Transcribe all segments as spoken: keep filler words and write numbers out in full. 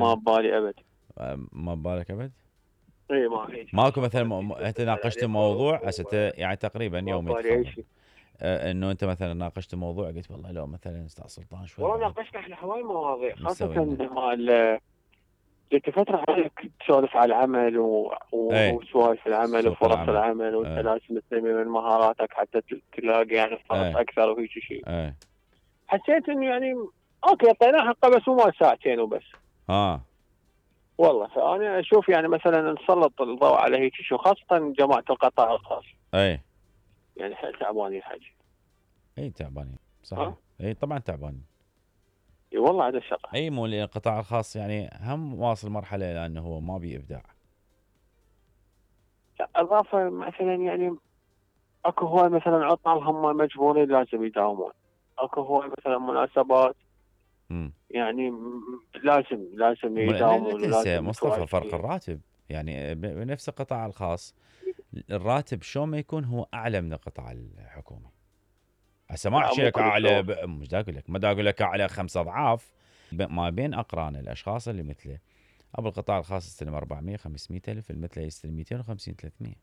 ما ببالي ابد. ما ببالك ابد؟ اي ما هيك ماكو مثلا م... انت ناقشت موضوع هسه يعني تقريبا يوم يتخرج آه انه انت مثلا ناقشت موضوع قلت والله لو مثلا استاذ سلطان شوي والله بعد ناقشنا احنا هواي مواضيع خاصه مسوينا. مال جيت فتره عليك تسولف على العمل و... ايه. وسوالف العمل سوق وفرص العمل. العمل وانت ايه. لازم تنمي من مهاراتك حتى تلاقي يعني فرص ايه. اكثر وهيك شيء. ايه. حسيت انه يعني اوكي اعطيناه حقه بس مو مال ساعتين وبس. اه والله فانا اشوف يعني مثلا نسلط الضوء على هيك شيء خاصه جماعه القطاع الخاص. ايه. يعني حيل تعبانين حاجه. اي تعبانين صحيح. اي طبعا تعبانين. اي والله هذا الشغله. اي مو القطاع الخاص يعني هم واصل مرحله لانه هو ما بي ابداع. اضافه مثلا يعني اكو هواي مثلا عطل هم مجبورين لازم يداومون. اكو هواي مثلا مناسبات امم يعني لازم لازم لا, لا يداومون. تنسى لازم مصطفى فرق الراتب يعني بنفس القطاع الخاص الراتب شو ما يكون هو اعلى من القطاع الحكومي. هسه ما احكي لك اعلى ب... مش دا اقول لك ما دا اقول لك اعلى خمس اضعاف ما بين اقران الاشخاص اللي مثله. ابو القطاع الخاص يستلم أربعمية خمسمية الف المثله يستلم مئتين وخمسين ثلاثمية.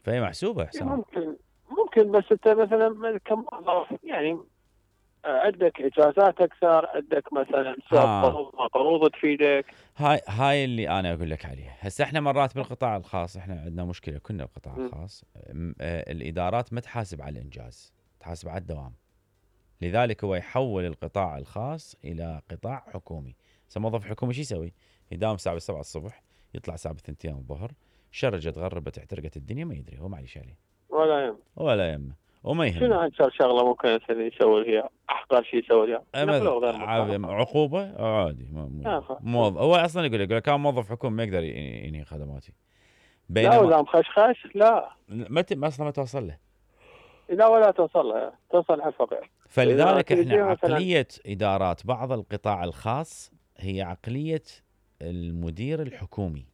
فهي محسوبه حسام. ممكن ممكن بس انت مثلا كموظف يعني عندك اجازات اكثر عندك مثلا قروض قروض تفيدك. هاي هاي اللي انا اقول لك عليها. هسه احنا مرات بالقطاع الخاص احنا عندنا مشكله كنا القطاع الخاص الادارات ما تحاسب على الانجاز تحاسب على الدوام. لذلك هو يحول القطاع الخاص الى قطاع حكومي. هسه موظف حكومي شو يسوي؟ يداوم الساعه سبعة الصبح يطلع الساعه اثنتين الظهر شرجت غربت احترقت الدنيا ما يدري هو معليش عليه ولا يهم ولا يهمه وما يهمه. شنو اكثر شغله ممكن يسوي هي احقر شيء يسوي فيها عقوبه عادي موظف هو اصلا يقول لك كان موظف حكومي ما يقدر ينهي خدماتي. بينما لا ولا مخشخش لا ما اصلا ما توصل له. لا ولا توصل له توصل على الفقير. فلذلك احنا عقليه ادارات بعض القطاع الخاص هي عقليه المدير الحكومي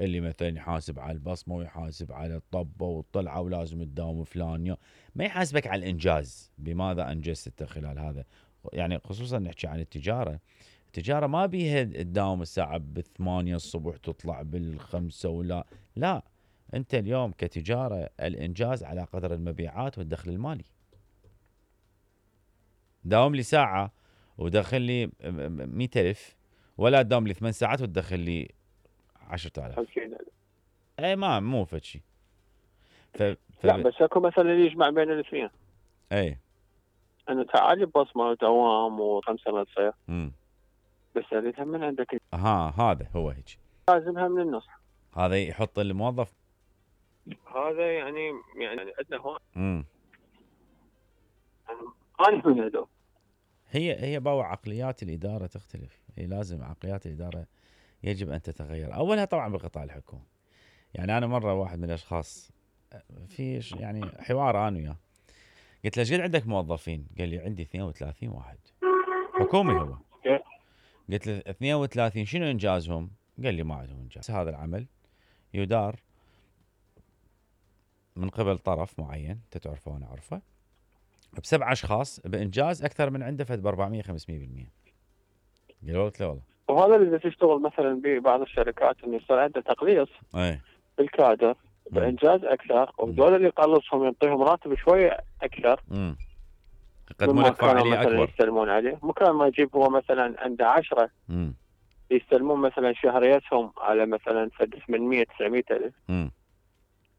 اللي مثلا يحاسب على البصمه ويحاسب على الطبه والطلعه ولازم تداوم فلان ما يحاسبك على الانجاز بماذا انجزت خلال هذا. يعني خصوصا نحكي عن التجاره. التجاره ما بيها تداوم الساعه بالثمانية الصبح تطلع بالخمسة ولا لا. انت اليوم كتجاره الانجاز على قدر المبيعات والدخل المالي. داوم لي ساعه ودخل لي مئة ألف ولا تداوم لي ثمان ساعات وتدخل لي عشرة آلاف. اي ما مو فد شيء. ف... لا بس اكو مثلا يجمع بين الاثنين. اي انه تعالي ببصمه ودوام وخمسه ما تصير. امم بس اريدها من عندك. ها هذا هو هيك. لازمها من النص. هذا يحط الموظف. هذا يعني يعني عندنا هون. امم انا من هذول. هي هي باو عقليات الاداره تختلف. هي لازم عقليات الاداره يجب ان تتغير. اولها طبعا بالقطاع الحكومي. يعني انا مره واحد من الاشخاص في يعني حوار انا وياه قلت له ايش قد عندك موظفين؟ قال لي عندي اثنين وثلاثين واحد حكومي هو. قلت له اثنين وثلاثين شنو انجازهم؟ قال لي ما عندهم انجاز. هذا العمل يدار من قبل طرف معين انت تعرفه وانا اعرفه بسبع اشخاص بانجاز اكثر من عنده فد ب أربعمية خمسمية بالمية. قالوا له والله. وهذا اللي تشتغل مثلا ببعض الشركات انه يصير عنده تقليص اي بالكادر بانجاز اكثر وهذول اللي يقلصهم يعطيهم راتب شويه اكثر. امم يقدمون لك فاعليه اكبر. يستلمون عليه مكان ما يجيب هو مثلا عنده عشرة امم يستلمون مثلا شهريتهم على مثلا فد ثمانمية تسعمية الف. امم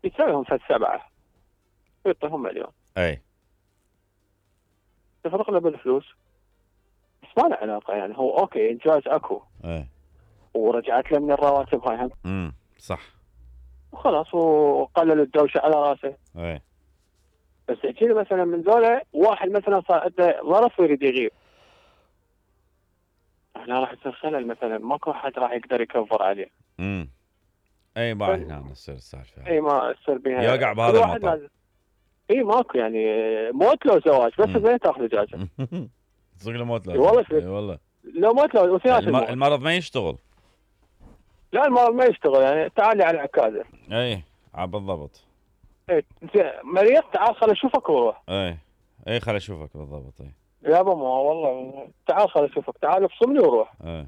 يسويهم فد سبعه يعطيهم مليون. اي تفرق له بالفلوس بس ما له علاقه يعني هو اوكي انجاز اكو. اي ورجعت له من الرواتب هاي هم. امم صح وخلاص وقلل الدوشه على راسه. اي بس احكي لي مثلا من ذولا واحد مثلا صار عنده ظرف ويريد يغيب. هنا راح يصير خلل مثلا ماكو احد راح يقدر يكفر عليه. امم اي ما هنا تصير السالفه. اي ما تصير بها يوقع بهذا المطار. اي ماكو يعني موت لو زواج بس ما تاخذ اجازه. صدق له موت لو. والله اي والله لو موت لو الم... المرض ما يشتغل. لا المرض ما يشتغل يعني تعالي على عكازه. اي بالضبط. اي مريض تعال خل اشوفك وروح. اي اي خل اشوفك بالضبط. اي يابا ما والله تعال خل اشوفك تعال افصمني وروح. اي